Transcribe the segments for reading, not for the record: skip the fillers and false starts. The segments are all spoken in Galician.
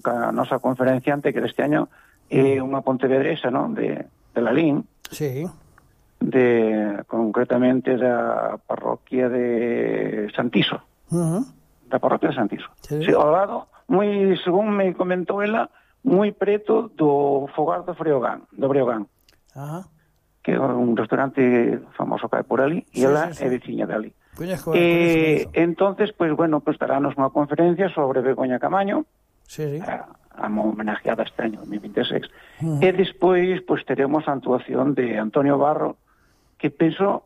ca nosa conferenciante, que deste año é unha pontevedresa, non? De Lalín. Sí. Concretamente da parroquia de Santiso. Da parroquia de Santiso. Sí. Sí, ao lado, según me comentou ela, moi preto do Fogar do Breogán. Ajá. Que é un restaurante famoso que hai por ali, e ela é veciña de ali. Entonces, pues bueno, pues darános unha conferencia sobre Begoña Camaño, a homenajeada este año 2026, e despois pues teremos a actuación de Antonio Barro, que penso,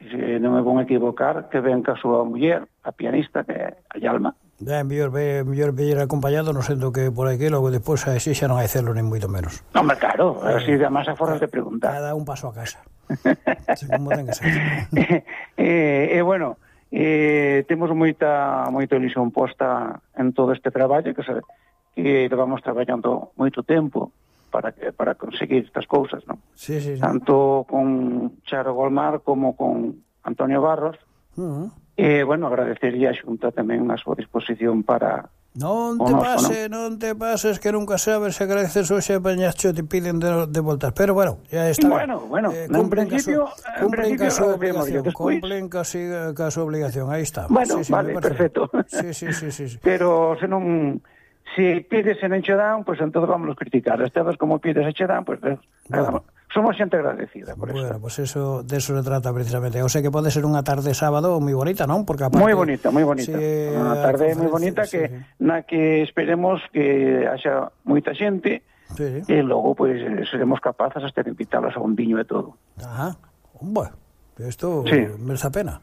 se non me vou equivocar, que ven ca súa muller, a pianista, que é a Yalma. Mellor vir acompañado, non sendo que por aquí, logo despois así xa non hai celo, nin moito menos. Hombre, claro, así de máis aforas de preguntar. Cada un paso a casa. Como ten que ser. Bueno, temos moita ilusión posta en todo este traballo, que vamos traballando moito tempo para conseguir estas cousas, non? Sí. Tanto con Charo Golmar como con Antonio Barros. Bueno, agradecería a Xunta tamén a súa disposición para... Non te pases, que nunca sabes, se agradeces hoxe a Pañacho te piden de voltas, pero bueno, ya está. Bueno, en principio cumplen casi a súa obligación, aí está. Bueno, vale, perfecto. Sí. Pero se non... Si pides e non che dan, pues entonces vamos a criticar. Esta vez como pides e che dan, pues somos xente agradecida por eso. Bueno, pues eso, de eso se trata precisamente. O sea que pode ser unha tarde sábado moi bonita, non? Porque aparte... Moi bonita. Unha tarde moi bonita na que esperemos que haxa moita xente e logo pues seremos capaces hasta de invitarlos a un viño e todo. Ajá. Bueno, isto merece a pena.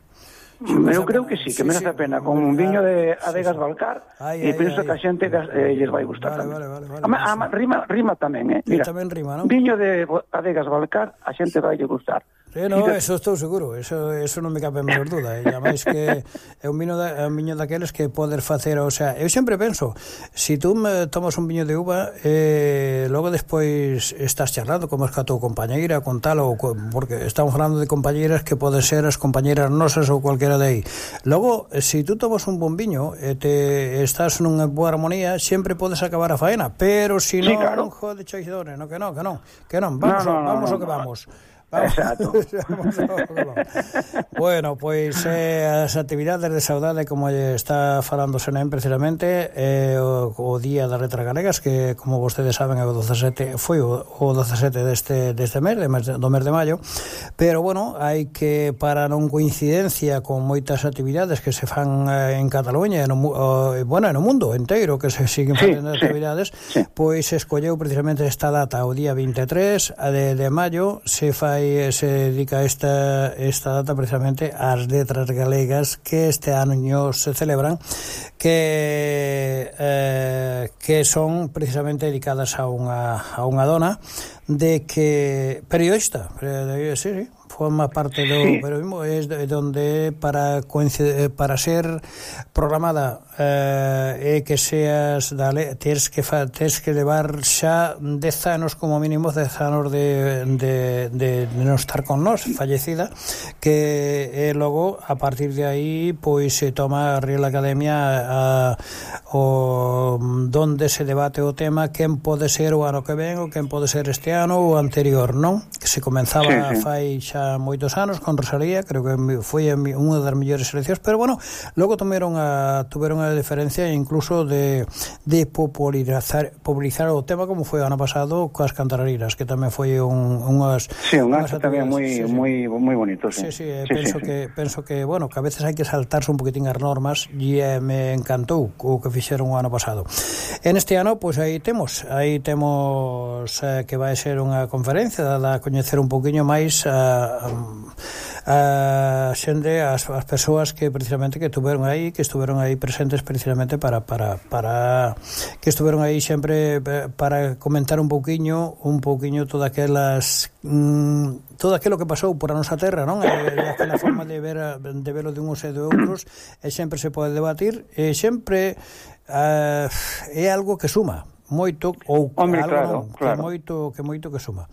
Eu creo que sí, que merece a pena, con un viño de Adegas Balcar, e penso que a xente lles vai gustar tamén. Rima tamén, Mira, tamén rima, non? Viño de Adegas Balcar, a xente vai lle gustar. No, eso estou seguro, eso non me cabe a menor duda, e ademais que é un viño daqueles que poder facer, o sea, eu sempre penso, si tú tomas un viño de uva, logo despois estás charlando como es que a tua compañeira, con tal, porque estamos falando de compañeiras que poden ser as compañeiras nosas ou cualquera de aí. Logo, si tú tomas un bon viño e estás nunha boa armonía, sempre podes acabar a faena, pero si non, claro. Jode choidores, que non, vamos ao que vamos. Exacto. Bueno, pois as actividades de saudade, como está falando Senem precisamente, o Día das Letras Galegas, que como vostedes saben é o 17, foi o 17 deste mes, do mes de maio, pero bueno, hai que, para non coincidencia con moitas actividades que se fan en Cataluña e no mundo inteiro que se siguen facendo actividades, pois se escolleu precisamente esta data, o día 23 de maio, se dedica esta data precisamente ás letras galegas que este ano se celebran, que son precisamente dedicadas a unha dona de que periodista, forma parte do periodismo, é donde para ser programada e que seas tens que levar xa 10 anos como mínimo, 10 anos de non estar con nós, fallecida, que logo a partir de aí pois se toma a Real Academia donde se debate o tema quen pode ser o ano que ven ou quen pode ser este ano ou anterior, non? Que se comenzaba fai xa moitos anos con Rosalía, creo que foi unha das mellores seleccións, pero bueno, logo tuveron a diferencia incluso de popularizar o tema, como foi o ano pasado coas cantarariras, que tamén foi unhas acto tamén moi bonito. Penso que bueno, que a veces hai que saltarse un poquitín as normas, e me encantou o que fixeron o ano pasado. En este ano, pois aí temos que vai ser unha conferencia dada a coñecer un poquinho máis a xente, as persoas que precisamente que estuveron aí presentes precisamente para que estuveron aí sempre para comentar un pouquiño todo aquilo que pasou por a nosa terra, non? Aquela forma de velo de uns e de outros, e sempre se pode debatir, e sempre é algo que suma moito, ou algo que moito que suma.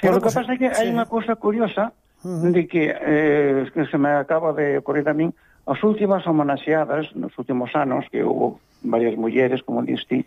Pero o que pasa é que hai unha cousa curiosa de que se me acaba de ocorrer a min, as últimas homenaxeadas nos últimos anos, que houve varias mulleres, como diste,